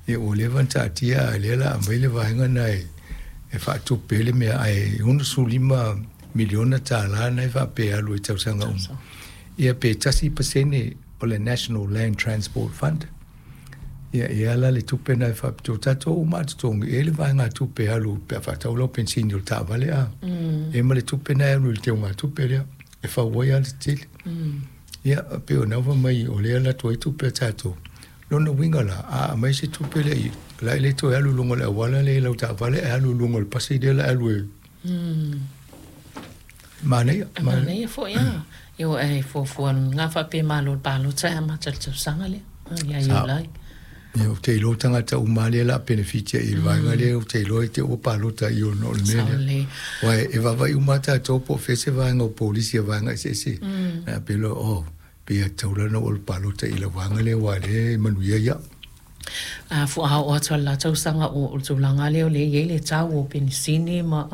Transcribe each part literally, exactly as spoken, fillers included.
Ia ua leva ona taatia a o lea o le a aumai le vaega lena e e faatupe ai le mea ae sefulu lima miliona tala lena e faapea e alu i tausaga uma. Ia pe tasi pasene o le National Land Transport Fund. Ia e ala le tupe lena e faapitoa. Tatou uma a totogi e i ai le vaegatupe e alu pe a faatau lau penisini o le taavale a. E ma le tupe lena e alu i le teugatupe lea e fau ai alatetele. Ia pei o lena ua fai mai o lea e alu atu ai tupe a tatou. Lona uiga la, a aumai se tupe lea i i, o le a e le toe alu i luga o le auala lea i lau taavale ae alu i luga o le pasi lea o le a alu e manaia. Manaia foi a. Ioe ae fuafua lena faapea malo le palota e amata i le tausaga lea ia Iulai. Ia ou te iloa tagata uma lea o le a penefitia i le vaega lea, ou te iloa i te i ua palota i ona o le mea lea. Aua e vaavaai uma lava tatou po o fea se vaega o polisi a vaega eseese. Ae pei loa, oh, pei e tatau la ona ou alu palota i lau vaega lea aua o lea e manuia ai au. A fua oo atu i le la tausaga o le tulaga lea o lea e i ai le tau o penisini ma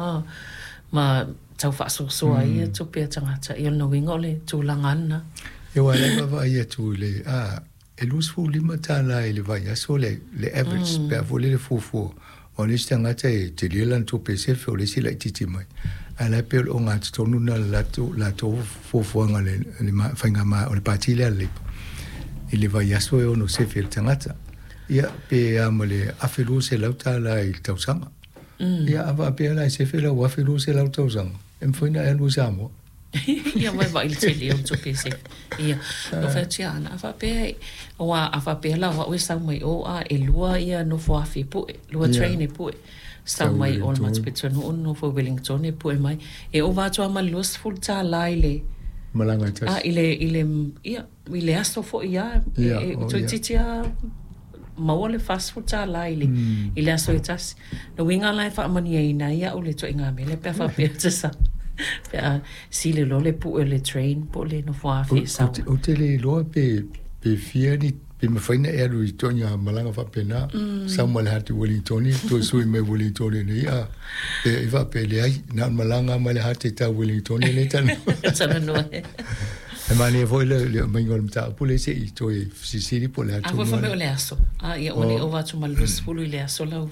ma tau faasoasoa ai ia tupe a tagata, ia o lona uiga o le tulaga lava lena. Ia aua o lea e vaavaai atu i le, a, e luasefulu lima tala i le vaiaso le, le average mm. pe a foi lele fuafua. O le isi tagata e tele lana tupe e sefe, o le isi e laitiiti mai. Ae la e pei o le ogatotonu lena o le latou, latou fuafuaga le, le faiga o le pati lea a le Labour. I le vaiaso e ono sefe e le tagata. Ia, pe a ma le afe lua selau tala i le tausaga. Mm. Ia, a faapea la e sefe lau afe lua selau tausaga, e mafai ona e alu i Samoa. Ia mai vaai i le tele o tupe e sefe. Ia, no fai atu ia Ana, a faapea, aua a faapea la o au e sau mai o a e lua ia nofo afi e pue, lua train e pue. Sau mai o le matou pitonuu nofo i Wellington e pue mai. E ova atu lava ma le luasefulu tala i le malaga e tasi. A i le, i le, ia, i le aso foi lava, e, e toeitiiti lava maua le fasefulu tala i le, i le aso e tasi. O le uiga la e faamanuiaina ai au i le ituaiga mea lea pe a faapea ou te sau, pe a sili loa le pue o le train po o le nofoafi e sau ai. Ou te le iloa pe, pe fia ni, pe mafai ona e alu i ituaiga malaga faapena, sau mai le Hati Wellingtoni, toe sui mai Wellingtoni nei, a, pe i faapea e leai, na o le malaga mai le Hati tau Wellingtoni lea e talanoa. Talanoa. E manaia foi le le aumaiga o le mataupu lea se i toe fesilisili po o le a A foi tonu fai mai lava. o le aso. A ia ua le ova atu ma le luasefulu i le aso lau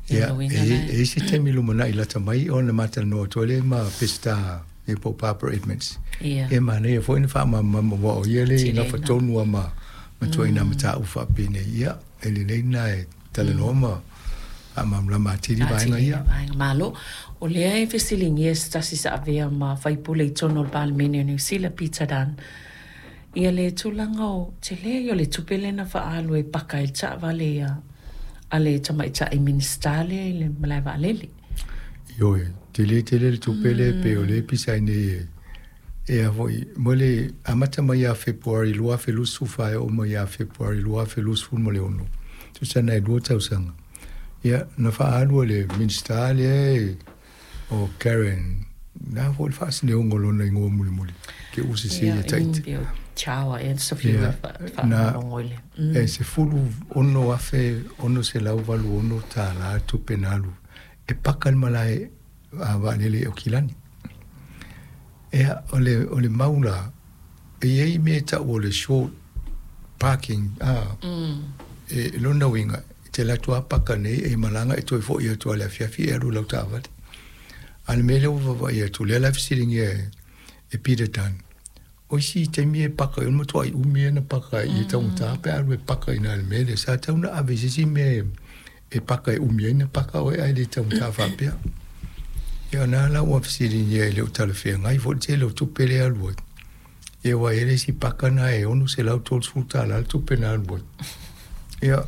ia Ia, lona e uiga i la. e i ai se taimi lumanai lata mai ona matalanoa atu ai lea ma Peseta ia po o Barbara Edmonds. Ia. E manaia foi ona faamalamalama aua o ia lea e Tele nafa na. tonu lava ma ma ituaiga mataupu faapenei. Ia, e lelei lena e talanoa ma faamalamalama atili vaega Atili ia. vaega. Malo. O lea e fesiligia e se tasi sa avea ma faipule i totonu o le Palemene o Niu Sila, Peter Dunne, ia le tulaga o tele ia o le tupe lea na faaalu e paka ai le taavale a a le tamaitai Minisita lea i le malae vaalele. Ioe, tele tele le tupe lea pei o lea e pisa ai nei e e a foi mo le amata mai ia Fepuari lua afe luasefulu fa e oo mai ia Fepuari lua afe luasefulu ma le ono, tusa na e lua tausaga. Ia, na faaalu e le Minisita lea o Karen, na foi le faasineoga o lona igoa mulimuli, ke ua sese Ia, ia Tahiti. pei o Chawa ea sa fiu Ia, e na faalogologo i le. e sefulu ono afe ono selau valu ono tālā tupe na alu e paka le malae a vaalele i Aukilani. Ia, o le, o le mau la, e i ai mea e tau o le short parking, a, e lona uiga, e te alu atu lava paka nei e malaga e toe foi atu lava i le afiafi e alu i lau taavale. A o le mea lea ua vaavaai atu, lea la e fesiligia e, e Peter Dunne, o isi taimi e paka ai, o le matuai umi ia na paka ai i taugata pe a alu e paka i ina i le mea lea. Sa tatau ona ave i se isi mea e, e paka e umi ai na paka oe ae le taugata faapea. Ia o lena la ua fesiligia e le o talafeagai foi le tele o tupe lea e alu ai. Ia aua e i ai le isi paka lena e ono selau tolusefulu tala le tupe na alu ai. Ia,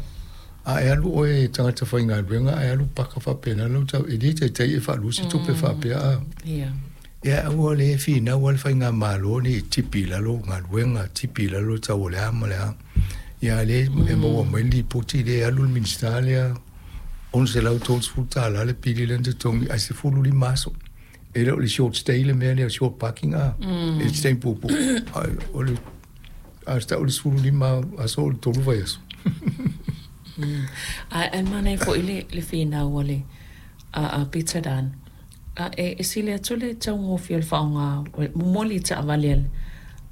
a e alu oe e tagata faigaluega ae alu paka faapena lau tau, e le taitai e faalua se tupe faapea a. Ia. Ia aua le finau lava le faigamalo nei e tipi i lalo galuega, tipi i lalo le tau o le a ma le a. Ia a lea e maua mai le lipoti lea e alu le Minisita lea ono selau tolusefulu tala le pili lea na totogi ae sefulu lima aso. E le o le short stay le mea lea o short parking a, e le se taimi puupuu. Ae o le a tau le sefulu lima aso o le tolu vaiaso. Ae ae manaia foi le le finau a le a a Peter Dunne a e e sili atu le taugofie o le faaaoga momoli i taavale a le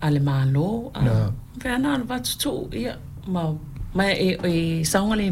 a le Malo a Na. faapea na ona avatu tuu ia ma ma e e saogalemu.